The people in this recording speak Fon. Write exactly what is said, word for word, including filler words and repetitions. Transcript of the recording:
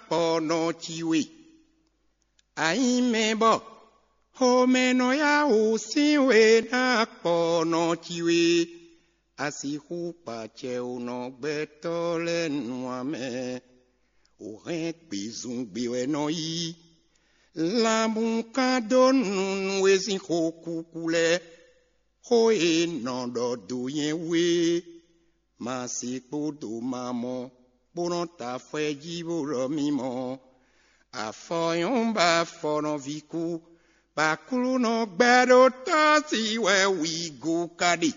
kpɔ nɔ ci we. A nyí mɛ bɔ xomɛ nɔ yá wǔ sín we ná kpɔ nɔ ci we. A sixú kpa acɛ wǒ nɔ gbɛtɔ́ lɛ́ɛ nu ǎ mɛ. Wǒ hɛn gbezungbe wɛ nɔ yí. Lanbun kan dó nu nú e sín xó kúkú lɛ́ɛ. Xó e nɔ ɖɔ dó nyɛ wú é, ma se kpódó ma mɔ, bó nɔ́ ta afɔ ɛ jí bó ɖɔ mì mɔ. Afɔ nyɔ́ ba afɔ nɔví kú, bɔ Aklúnɔ gbɛɖótɔ́ sí wɛ wǐ go ka ɖe.